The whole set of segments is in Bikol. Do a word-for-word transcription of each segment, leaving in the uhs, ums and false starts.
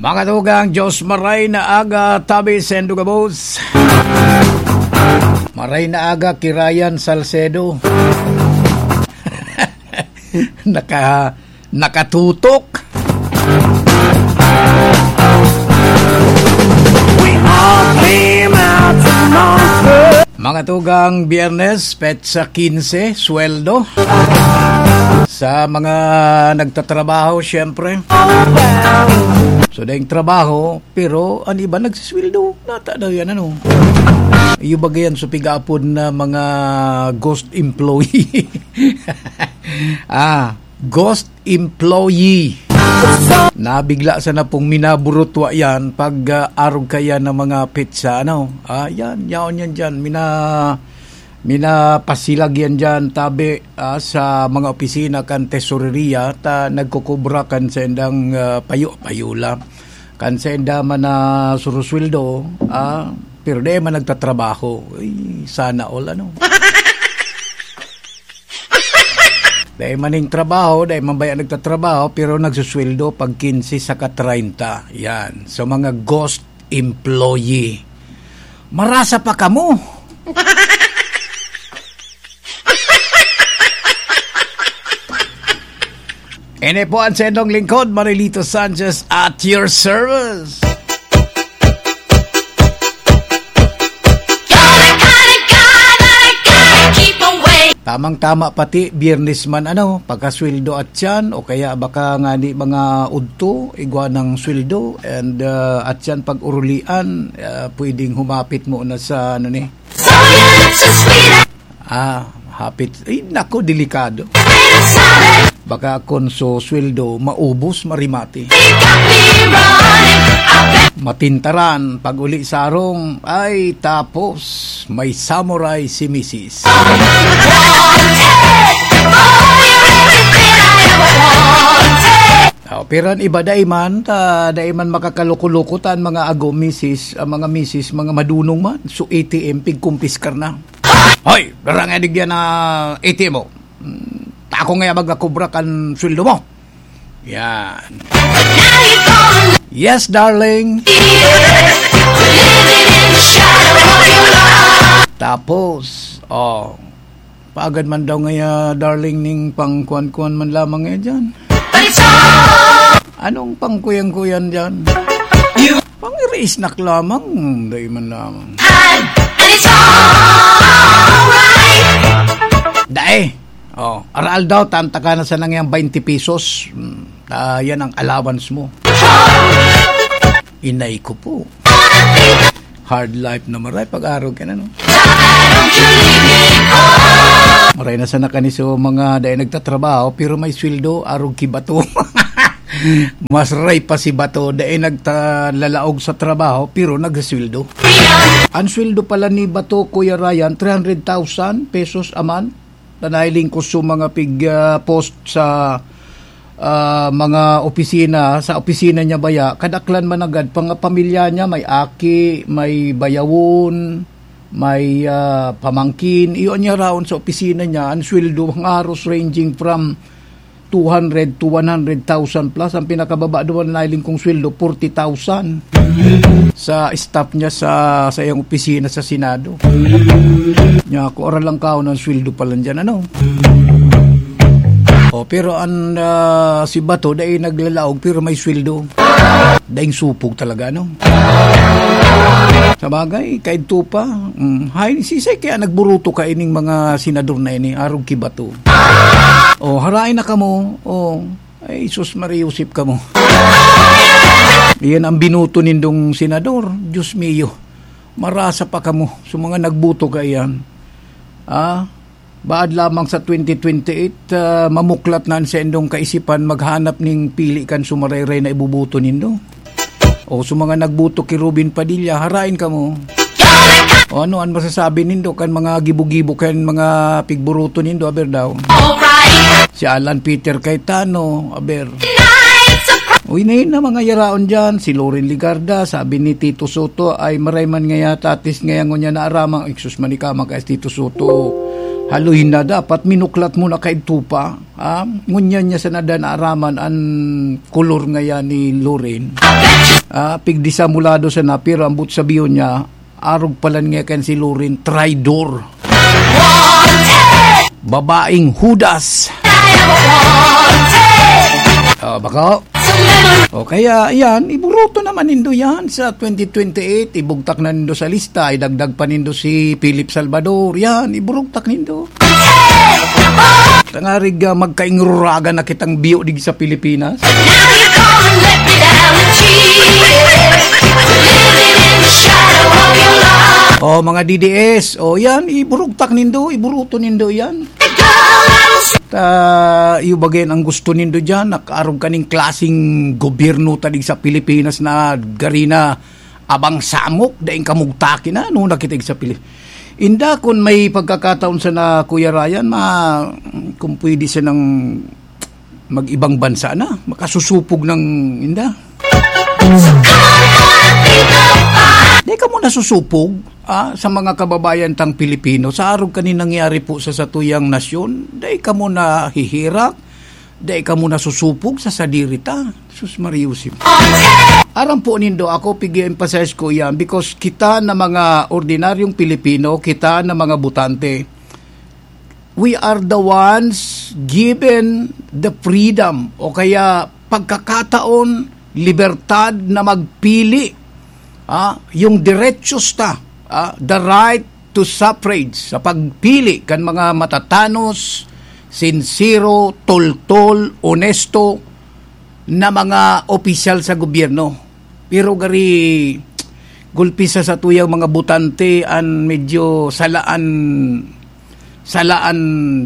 Mga tugang, Diyos maray na aga, tabi sendo gabos. Maray na aga, Kirayan Salcedo. Naka, nakatutok. We all came out to Montreux. Mga tugang, Biyernes, petsa quince, sweldo. Sa mga nagtatrabaho, syempre. So, daing trabaho, pero ang iba nagsisweldo. Nata daw yan, ano? Iyo ba yan, so pigapod na mga ghost employee? Ah, ghost employee. Nabigla sana pong minaburutwa yan pag, ah, arog kaya ng mga petsa, ano? Ah, yan, yaon yan dyan. Mina-, minapasilag yan dyan, tabi, ah, sa mga opisina kan tesoreria, ta nagkukubra kan sendang, ah, payo-, payola. Kan senda man na surusweldo, ah, pero di man nagtatrabaho. Ay, sana all, ano? Dai man ning trabaho, dai man baya nagtatrabaho, pero nagsusweldo pag quince saka treinta. Yan. So, mga ghost employee. Marasa pa kamo. Ini po ang sendong lingkod, Marilito Sanchez, at your service. You're the kind of guy that I gotta keep away. Tamang-tama pati, Biyernes man, ano, pagkasweldo at yan, o kaya baka nga di mga udto, igwa ng sweldo, and, uh, at yan pag-urulian, uh, pwedeng humapit mo na sa, ano ni? So you're just sweet. Ah, hapit. Ay, nako, delikado. Baka kun so sweldo, maubos, marimati. Matintaran, pag uli sa arong, ay, tapos, may samurai si misis. Oh, pero ang iba, dai man, ta, dai man makakaluko-luko ta ang mga ago, misis, ang mga misis, mga madunong man. So, A T M, pigkumpiskar na. Hoy, darang edigyan na A T M mo. Hmm, tako nga yabag na kubra kan sweldo mo. Yan. Yes, darling. Tapos, oh, paagad man daw ngaya, darling, ning pangkuan-kuan man lamang eh dyan. Anong pangkuyan-kuyan dyan? Pang-iri-snack lamang, dai man lamang. And, and it's alright. Dai. Oh, aral daw, tanta ka na sa nangyang twenty pesos. Hmm, ah, yan ang allowance mo. Inay ko po. Hard life na maray, pag-arog ka na, no? Maray na sana kani so mga dai nagtatrabaho, pero may sweldo, arog ki Bato. Mas ray pa si Bato, dai nagta-, lalaog sa trabaho, pero nagsasweldo. Ang sweldo pala ni Bato, Kuya Ryan, three hundred thousand pesos a month. Nanahiling ko sa mga pig, ah, post sa, ah, mga opisina, sa opisina niya baya, kadaklan man agad, pang-, pamilya niya, may aki, may bayawon, may, ah, pamangkin. Iyo niya raon sa opisina niya, ang sweldo, ang aros ranging from two hundred to one hundred thousand plus. Ang pinakababa duman na nailing kong sweldo, forty thousand. Sa staff niya sa, sa iyang opisina sa Senado. Niya ako, oral lang kaon ang sweldo pa lang dyan, ano? Oh, pero ang, ah, si Bato, dai naglalaog, pero may sweldo. Daing supog talaga, no? Sa bagay, kaidto pa. Mm, hay, sisay kaya nagburuto ka ining mga senador na ini, arog ki Bato? Oh, harain na kamo. Oh, ay, sus, Maria Josep kamo. Iyan ang binuto nindong senador. Diyos mio, marasa pa kamo. So, mga nagbuto ka iyan. Ah, baad lamang sa twenty twenty-eight, ah, mamuklat na an saindong kaisipan maghanap ning pili kan sumarayray na ibuboto nindo. O sa mga nagboto ki Robin Padilla, harain kamo. O ano an masasabi nindo kan mga gibo-gibo kan mga pigburoto nindo, aber daw? Si Alan Peter Cayetano, aber. Uy, na yun na mga yaraon dyan. Si Loren Legarda, sabi ni Tito Soto, ay maray man ngaya, tatis ngaya ngunyan na aramang, iksus man ikaw, mga Tito Soto. Haloy na, dapat minuklat mo na kaidto pa. Ah, ngunyan niya sana da naaraman an kolor ngaya ni Loren. Ah, pigdisamulado sana, pero ambot sabihon niya, arog pala niya kan si Loren, traidor. Babaeng Judas. Ah, bako? O kaya, yan, iburoto naman nindo yan sa twenty twenty-eight, ibugtak na nindo sa lista, idagdag pa nindo si Philip Salvador, yan, iburugtak nindo. Tangarig, ah, magkaingruragan na kitang biyo dig sa Pilipinas. O, mga D D S, o yan, iburugtak nindo, iburuto nindo yan. Ta, iyo bagay ang gusto nindo diyan, nakaarog kaning klaseng gobyerno ta dig sa Pilipinas na gari na abang samok, daing kamugtaki na, ano na kita sa Pili-, Inda, kun may pagkakataon sana, Kuya Ryan, ma-, kung pwede sanang mag-ibang bansa na, makasusupog ng, inda. Di ka muna susupog, ah, sa mga kababayan tang Pilipino, sa arog kanin nangyari po sa satuyang nasyon, di ka muna hihirak, di ka muna susupog sa sadiri ta. Sus, Mariusim. Aram po nindo, ako, pigi-emphasize ko yan because kita na mga ordinaryong Pilipino, kita na mga butante, we are the ones given the freedom o kaya pagkakataon, libertad na magpili, ah, yung diretsyo ta, ah, the right to suffrage sa pagpili kan mga matatanos, sinsero, toltol, onesto na mga opisyal sa gobyerno. Pero gari, gulpi sa satuyang mga butante an medyo salaan, salaan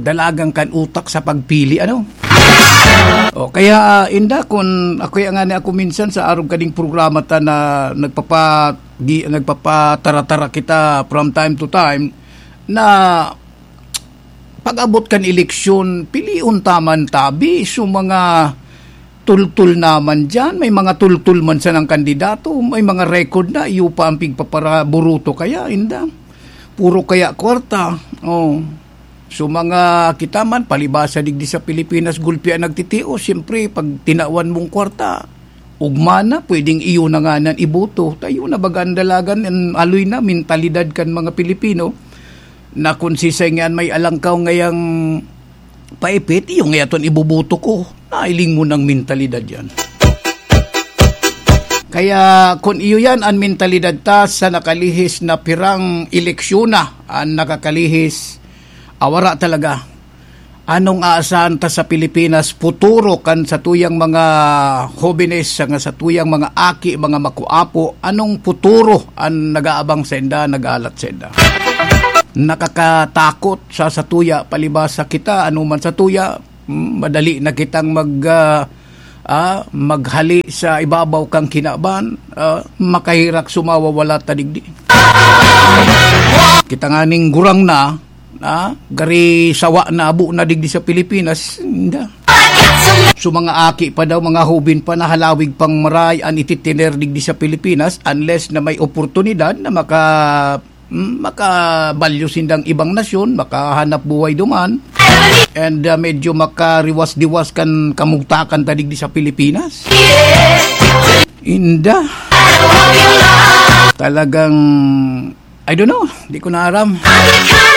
dalagan kan utak sa pagpili, ano? O, kaya, ah, inda, kun ako, ngani ako minsan sa arog kaning programa ta na nagpapa-, di, nagpapataratara kita from time to time, na pag-abot kan eleksyon, pilion ta man tabi, so mga tultul naman diyan, may mga tultul man sanang kandidato, may mga record na, iyo pa ang pigpaparaburuto kaya, inda. Puro kaya kwarta. Oh. So, mga kita man, palibasa digdi sa Pilipinas, gulpi ang nagtitios. Siyempre, pag tinawan mong kwarta, ugma na, pwedeng iyo na nga nan iboto. Tayo na baga ang dalagan, ang aloy na, mentalidad kan mga Pilipino, na kung sisay nga may alangkaw ngayang paipit, iyo nga yaton iboboto ko. Nailing mo ng mentalidad yan. Kaya kun iyo yan an mentalidad ta sa nakalihis na pirang eleksyon na an nakakalihis, awara talaga. Anong aasahan ta sa Pilipinas, futuro kan satuyang mga hobenes, saka satuyang mga aki, mga makuapo? Anong futuro an nag-aabang sainda, nag-aalat sainda? Nakakatakot sa satuya, palibasa kita, ano man satuya, mm, madali na kitang mag, ah, ah, maghali sa ibabaw kang kinaban, ah, makahirak sumawawala ta digdi. Kita nganing gurang na, ah, gari sawa na abo na digdi sa Pilipinas, inda. So, mga aki pa daw, mga hubin pa na halawig pang maray an ititiner digdi sa Pilipinas, unless na may oportunidad na maka-, mm, makabalyo sindang ibang nasyon, makahanap buhay duman, and, ah, medyo makariwas-diwas kan kamugtakan ta digdi sa Pilipinas. Inda. Talagang, I don't know, di ko na aram.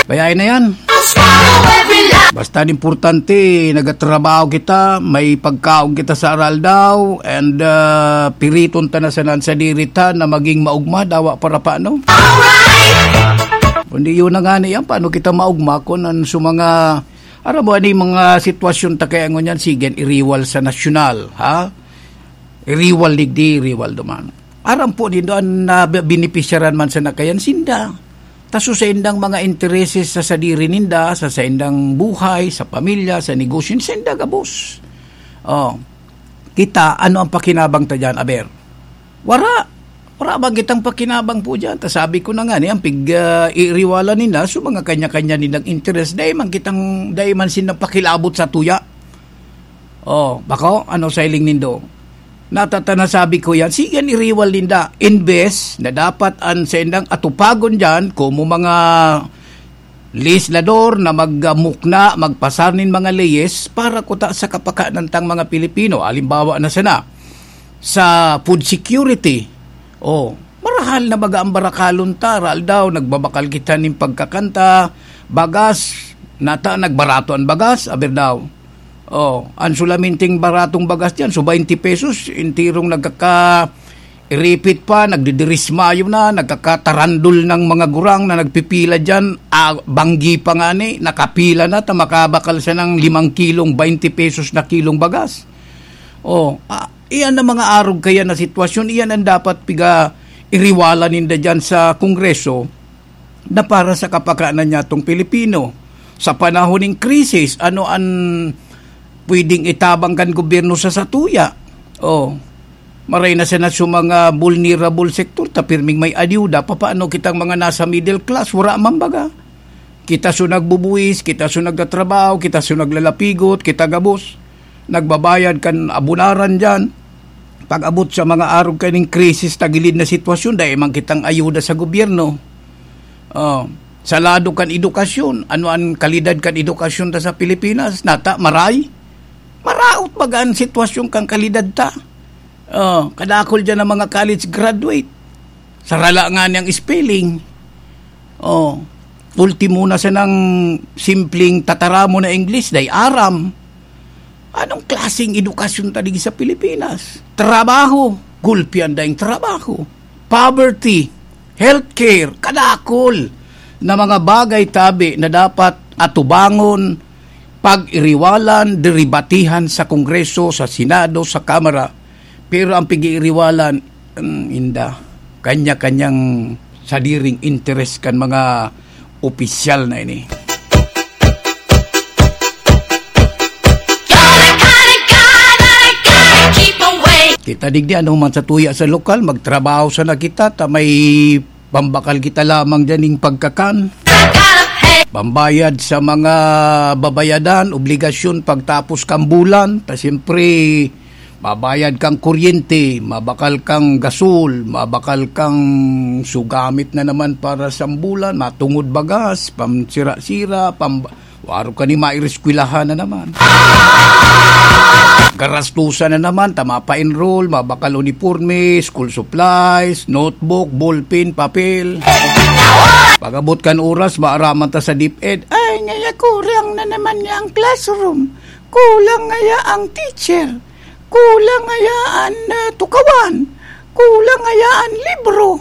Bayaan na yan. Basta an importante, nagatrabaho kita, may pagkaon kita sa aroaldaw, and, ah, piriton ta na sana an sadiri ta na maging maugma, dawa para paano. Kundi yun na nga na yan, paano kita maugma kung an, sa mga, aram mo, ano yung mga sitwasyon ta kaya ngunyan, sige, iriwal sa nasyonal, ha? Iriwal digdi, iriwal duman. Aram po nindo an nabenepisyaran man sana kayan sinda. Ta so saindang mga intereses sa sadiri ninda, sa saindang buhay, sa pamilya, sa negosyo, sainda gabos. Oh, kita, ano ang pakinabang ta diyan, aber? Wara. Wara ba kitang pakinabang po diyan? Ta sabi ko na nga, ni ang pig, ah, iriwala nila, so mga kanya-kanya nilang interes, dai man kitang, dai man silang pakilabot sa tuya. Oh, bako, ano sa hiling nindo? Natatanasabi ko yan, sige, an iriwal ninda. Imbes na dapat an saindang atupagon diyan, komo mga legislador na magmukna, magpasar nin mga leyes para kuta sa kapakanan tang mga Pilipino. Halimbawa na sana, sa food security. Oh, marahal na baga ang barakalon ta, raal daw, nagbabakal kita nin pagkakan ta, bagas, nata, nagbarato an bagas, aber daw. Oh, ang sulaminting baratong bagas diyan, so twenty pesos, intirong nagkaka-, iripit pa, nagdidirismayo na, nagkakatarandol ng mga gurang na nagpipila diyan, ah, banggi pa nga ni, nakapila na, ta makabakal siya ng limang kilong, twenty pesos na kilong bagas. Oh, ah, iyan ang mga arog kaya na sitwasyon, iyan ang dapat piga-iriwala ninda diyan sa Kongreso na para sa kapakanan niya tong Pilipino. Sa panahon ng krisis, ano ang pwedeng itabang kan gobyerno sa satuya? Oh, maray na sana sa mga vulnerable sector, ta pirming may ayuda, papaano kitang mga nasa middle class, wala man baga. Kita so nagbubuhis, kita so nagtatrabaho, kita so naglalapigot, kita gabos. Nagbabayad kan abunaran diyan. Pag-abot sa mga arog kaning krisis, tagilid na sitwasyon, dai man kitang ayuda sa gobyerno. Oh, sa lado kan edukasyon, ano ang kalidad kan edukasyon ta sa Pilipinas? Nata, maray? Maraot baga ang sitwasyon kan kalidad ta? Oh, kadakol diyan ang mga college graduate. Sarala nga niyang spelling. Oh, ultimo na sa nang simpleng tataramon na English, dai aram. Anong klaseng edukasyon ta digdi sa Pilipinas? Trabaho, gulpi an daing trabaho. Poverty, healthcare, kadakol na mga bagay tabi na dapat atubangon, pag-iriwalan, deribatihan sa Kongreso, sa Senado, sa Kamara. Pero ang pig-iiriwalan, mm, inda, kanya-kanyang sadiring interes kan mga opisyal na ini. Kita digdi, ano man sa tuya sa lokal, magtrabaho sana kita, ta may pambakal kita lamang diyan ning pagkakan. Pambayad sa mga babayadan, obligasyon pagtapos kan bulan, ta siyempre, mabayad kang kuryente, mabakal kang gasol, mabakal kang sugamit na naman para sa bulan, matungod bagas, pamsira-sira, pam-, waro ka ni maireskwelahan na naman. Garastusan na naman, ta mapa-enroll, mabakal uniporme, school supplies, notebook, ballpen, papel. Pag-abot kan oras, maaraman ta sa DepEd, "Ay, ngaya kurang na naman niya ang classroom. Kulang ngaya ang teacher. Kulang ngaya an, ah, tukawan. Kulang ngaya an libro.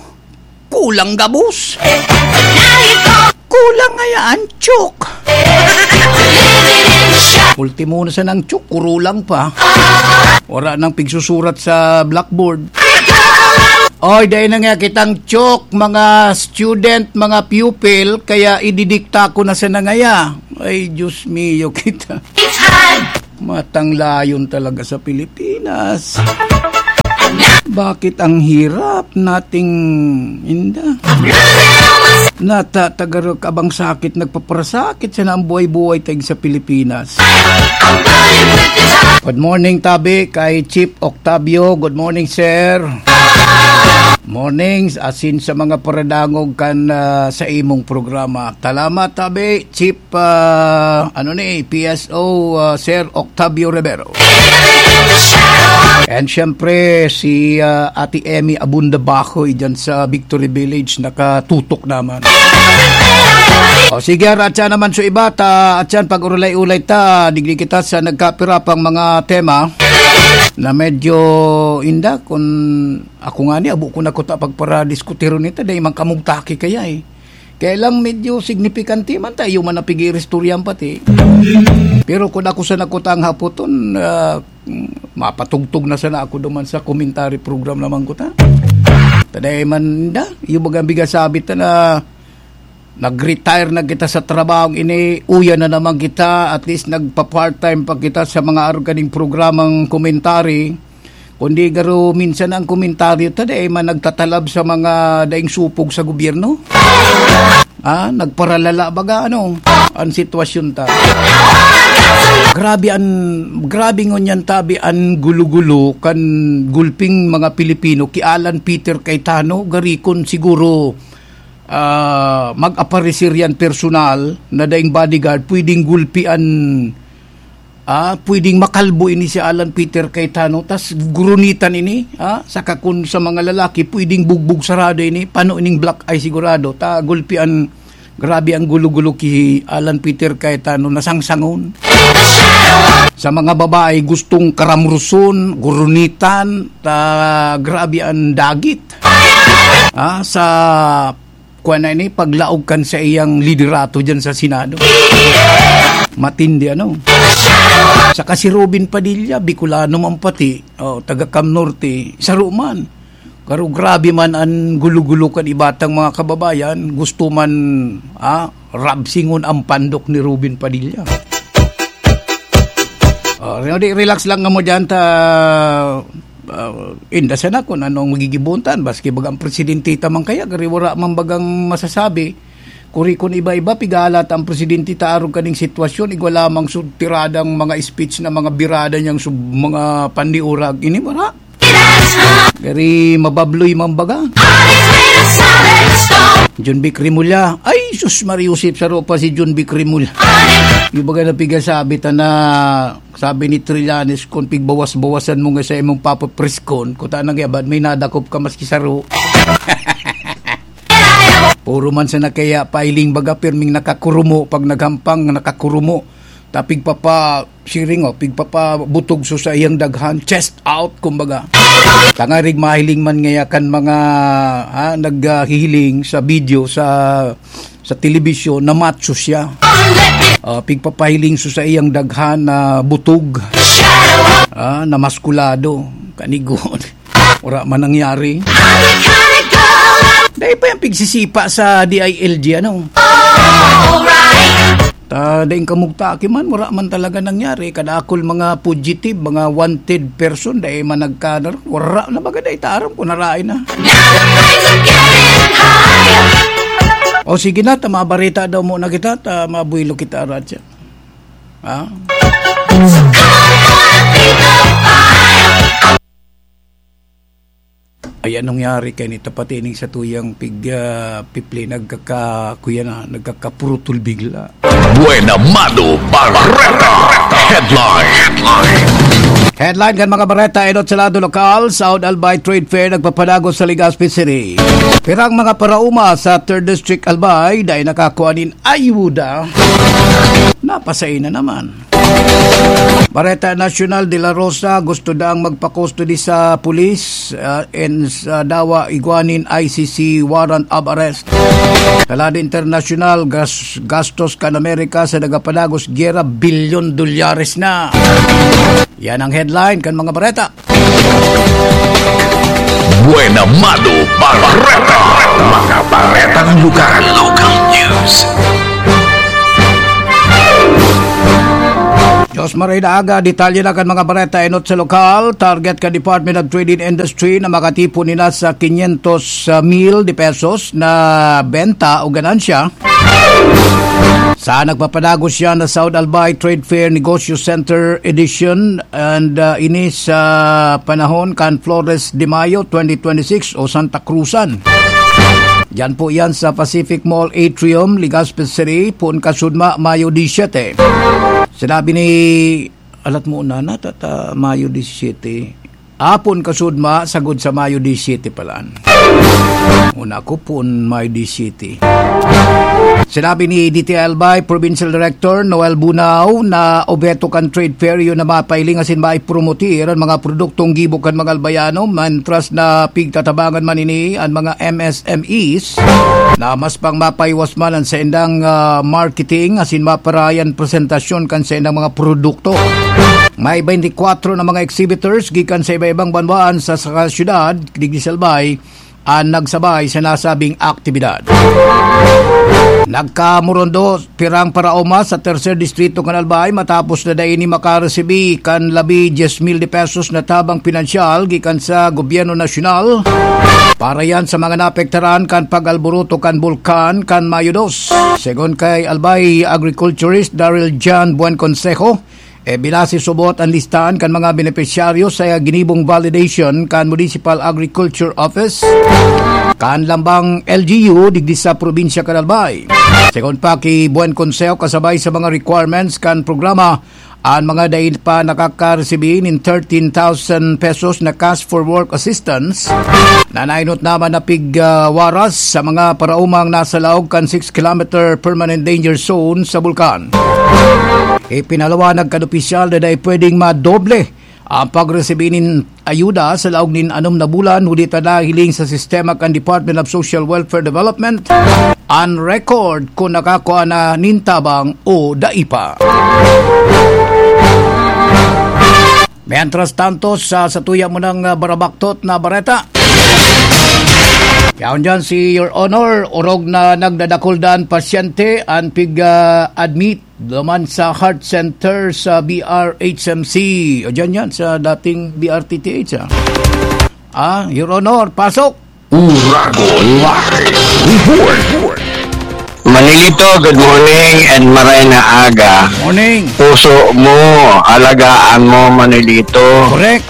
Kulang gabos. Kulang ngaya an chok." Ultimo na sa nang chok, kurulang pa. Wala nang pigsusurat sa blackboard. Oy, dai na nga kitang chok, mga student, mga pupil, kaya ididikta ko na sa nangaya. Ay, Diyos mio, kita. Matanglayon talaga sa Pilipinas. Bakit ang hirap nating inda? Nata, tagarok abang sakit, nagpaparasakit sana ang buhay-buhay tayo sa Pilipinas. Good morning, tabi, kay Chief Octavio. Good morning, sir. Morning, asin sa mga paradangog kan, ah, sa imong programa. Salamat, tabi, Chief, ah, ano ni, P S O, ah, Sir Octavio Rivero. And syempre, si, ah, Ate Emmy Abunda Bahoy dyan sa Victory Village, nakatutok naman. O sige, Ratsa naman so iba, ta, at yan, pag-urulay-ulay ta, digdi kita sa nagkapirapang mga tema na medyo inda, kung ako nga ni, abo ko na kuta pagparadiskuteron nito, dahil man kamugtaki kaya eh. Kaya lang medyo signifikante man tayo man ang pag-iiristoryan pati. Pero kung ako sa nakutang hapoton, ah, mapatugtog na sana ako duman sa commentary program naman ko ta. Taday man da, yung bagang bigasabit na nag-retire na kita sa trabaho, ini uya na naman kita, at least nagpa-part-time pa kita sa mga arog kaning programang commentary. Kundi garo minsan ang komentaryo ta, dai man nagtatalab sa mga daing supog sa gobyerno. Ah, nagparalala baga, ano, ang sitwasyon ta. Grabe an-, grabe ngunyan tabi an gulo-gulo kan gulping mga Pilipino ki Alan Peter Cayetano, gari kon siguro ah, mag-aparecer yan personal na daing bodyguard, pwedeng gulpian, ah, pwedeng makalbo ini si Alan Peter Cayetano, tas gurunitan ini, ah, saka kun sa mga lalaki, pwedeng bugbog sarado ini, pano ining black eye sigurado, ta gulpian, grabe ang gulo-gulo ki Alan Peter Cayetano, nasangsangon. Sa mga babae, gustong karamruson, gurunitan, ta grabe ang dagit. Ah, sa kuwan na ini, paglaog kan sa iyang liderato dyan sa Senado. Matindi, ano? Saka si Robin Padilla, Bicolano man pati, oh, taga Cam Norte, saro man. Pero grabe man ang gulo-gulo kan ibatang mga kababayan, gusto man, ah, rabsingon ang pandok ni Robin Padilla. Oh, re-, relax lang kamo dyan, ta, ah, inda sana kung anong magigibuntan. Baski bagang presidente ta man kaya, gari wala man bagang masasabi. Kuri kun iba-iba, pigalat ang presidente ta arog kaning sitwasyon, igwa lamang sud tiradang mga speech na mga birada niyang sub-, mga pandiurag. Ini wala. Gari mababloy man baga. John Vic Remulla. Ay, sus, Maria Josep, saro pa si John Vic Remulla. Yung baga na pigasabi ta na, sabi ni Trillanes, kung pigbawas-bawasan mo nga sa imong papapriskon, kuta nang yabad, may nadakop ka maski saro. Puro man sa nakaya, pailing baga, pirming nakakurumo, pag naghampang, nakakurumo. Ta pigpapa-, siring, oh, pigpapabutog so sa iyang daghan, chest out, kumbaga. Tangarig mahiling man ngaya kan mga, ha, naghihiling sa video, sa, sa telebisyon, na macho siya. Ah, pigpapahiling so sa iyang daghan na butog. Ah, na maskulado. Kanigon. Wala man nangyari. Dahil pa yung pigsisipa sa D I L G, ano? Ta, daing kamugtaki man, wala man talaga nangyari. Kadakol mga fugitive, mga wanted person, dahil man nagkadar-, wala na baga dahil ta aram kung narain na. O sige na, ta mabarita daw muna kita, ta mabuelo kita, Radya. Ha? Ay, anong yari kay nito? Pati ning sa tuyang pig, ah, pipli, nagkaka-, kuya na, nagkakapurutol bigla. Buena Mano Bareta. Headline. Headline kan mga bareta, enot sa lado lokal, South Albay Trade Fair nagpapadagos sa Legazpi City. Pirang mga paraoma sa Third District Albay, dahil nakakuha nin ayuda. Napasay na naman. Bareta Nasyonal, De La Rosa gusto daang magpa-custody sa pulis, ah, and sa dawa igwa nin I C C warrant of arrest. Sa lado internasyonal, gas-, gastos kan Amerika sa nagapadagos gyera, bilyon dolyares na. Yan ang headline kan mga bareta. Buena Mano Bareta. Mga baretang lugar. Local news. Diyos maray na aga, detalye na kan mga bareta enot sa lokal. Target ka Department of Trade and Industry na makatipon nila sa quinientos mil de pesos na benta o ganansya. Sa nagpapadagos siya na South Albay Trade Fair Negosyo Center Edition and, ah, ini sa panahon kan Flores de Mayo twenty twenty-six o Santa Cruzan. Diyan po yan sa Pacific Mall Atrium, Legazpi City, poon kasudma, Mayo disisyete. Sinabi ni, alat mo na, na, tata, Mayo disisyete. Apon kasudma, sagod sa Mayo disisyete palaan. Una ko pon Mayo disisyete. Sinabi ni D T Albay Provincial Director Noel Bunao na obheto kan trade fair iyo na mapailing asin maipromotir an mga produktong gibo kan mga Albayano, mantras na pigtatabangan man ini an mga M S M Es na mas pang mapaiwas man an saindang, ah, marketing asin maparayan presentasyon kan saindang mga produkto. May twenty-four na mga exhibitors gikan sa iba-ibang banwaan sa, sa syudad, digdi sa Albay, an nagsabay sa nasabing aktibidad. Nagkamurondo pirang paraoma sa Tercer Distrito kan Albay matapos na dai ini makaresibi kan labi dyes mil de pesos na tabang pinansyal gikan sa gobyerno nasyonal para yan sa mga naapektaran kan pag-alboroto kan bulkan kan Mayo dos. Segun kay Albay agriculturist Daryl John Buen Consejo, e, binase subot an listahan kan mga benepisyaryo sa ginibong validation kan Municipal Agriculture Office. kan lambang L G U digdi sa probinsya kan Albay. Segun pa ki Buen Consejo, kasabay sa mga requirements kan programa, an mga dai pa nakakaresibi nin thirteen thousand pesos na cash for work assistance, na nainot naman na pig, ah, waras sa mga paraomang nasa laog kan six kilometer permanent danger zone sa bulkan. Ipinalawanag kan opisyal na dai pwedeng madoble ang pagresibi nin ayuda sa laog nin anom na bulan, huli ta nahiling sa sistema kan Department of Social Welfare Development an record kung nakakua na nin tabang o dai pa. Mientras tanto, sa satuya mo ng, ah, barabaktot na bareta. Yaon dyan si Your Honor, orog na nagdadakul daan pasyente an pig, ah, admit duman sa Heart Center sa B R H M C. O, dyan yan, sa dating B R T T H, ah. Ah, Your Honor, pasok! Uragon Live Report. Manilito, good morning and maray na aga. Morning. Puso mo, alagaan mo, Manilito. Correct.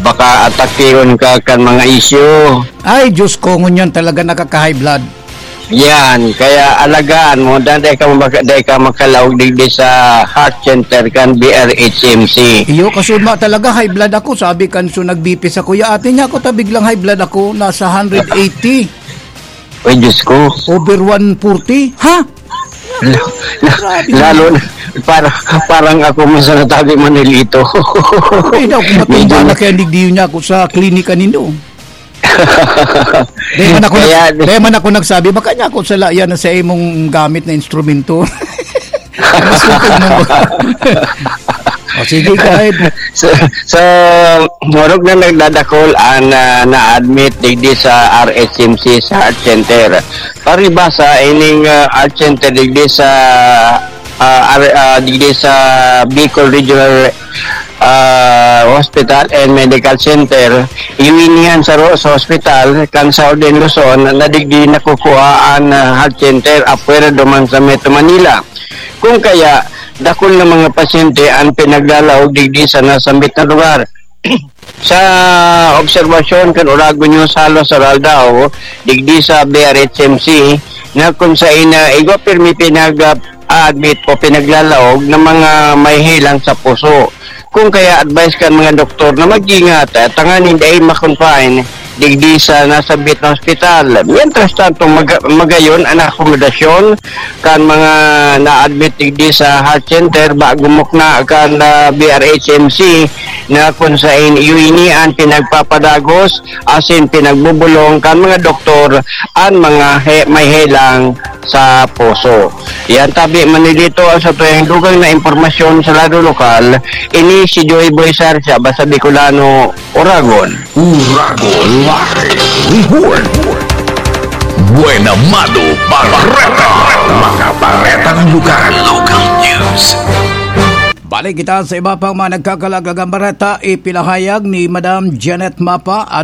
Baka atakihon ka kan mga isyu. Ay, Diyos ko, ngunyan talaga nakaka-high blood. Yan, kaya alagaan mo, dahil dahil ka, maka, dahil ka makalaog digdi sa heart center kan B R H M C. Iyo, kasuma talaga, high blood ako. Sabi kan so nag-B P sa kuya, ate niya ako, ta biglang high blood ako, nasa hundred eighty. Ay, Diyos ko. Over one forty. Ha? La, la, Grabe. Lalo na, para, parang ako man sa natabi Manilito. Hindi na ako matumba Medyo na kaya nigdiyo niya ako sa klinika nindo. Dahil man ako, Kaya, nag-, dahil man ako nagsabi, baka niya ako sa layan na sa imong gamit na instrumento. Mas kumpag mo ba? O, sige, go ahead. So, so, morog na nagdadakol ang, ah, na-admit digdi sa R H M C sa Heart Center. Paribasa, ining, ah, Heart Center digdi sa, ah, R-, ah, digdi sa Bicol Regional, ah, Hospital and Medical Center, iwinihan sa ro-, sa hospital, kan Southern Luzon, na digdi nakukuha ang, ah, Heart Center, apwera duman sa Metro Manila. Kung kaya, dakul na mga pasyente ang pinaglalaog digdi sa nasambit na lugar. Sa obserbasyon kan Oragon News halos aroaldaw, digdi sa B R H M C, na kung sain na igwa pirmi pinag-, ah, admit o pinaglalaog ng mga may helang sa puso. Kung kaya advice kan mga doktor na mag-ingat, ah, tanganing dai ma-confine digdi sa nasambit na ospital. Mientras tanto, mag-, magayon ang akomodasyon kan mga na-admit digdi sa heart center bago mukna kan, ah, B R H M C na kung sain iwini an pinagpapadagos asin pinagbubulong kan mga doktor an mga he-, may helang sa puso. Yan tabi, Manilito, ang sa tuyang dugang na impormasyon sa lado lokal. Ini si Joy Boy Sarcha, basta Bicolano, Oragon. Uragon Live Report. Buena Mado Bareta. Mga baretang lugar. Local news. Balik kita sa iba pang mga nagkakalagang bareta, ipinahayag ni Madam Janet Mapa,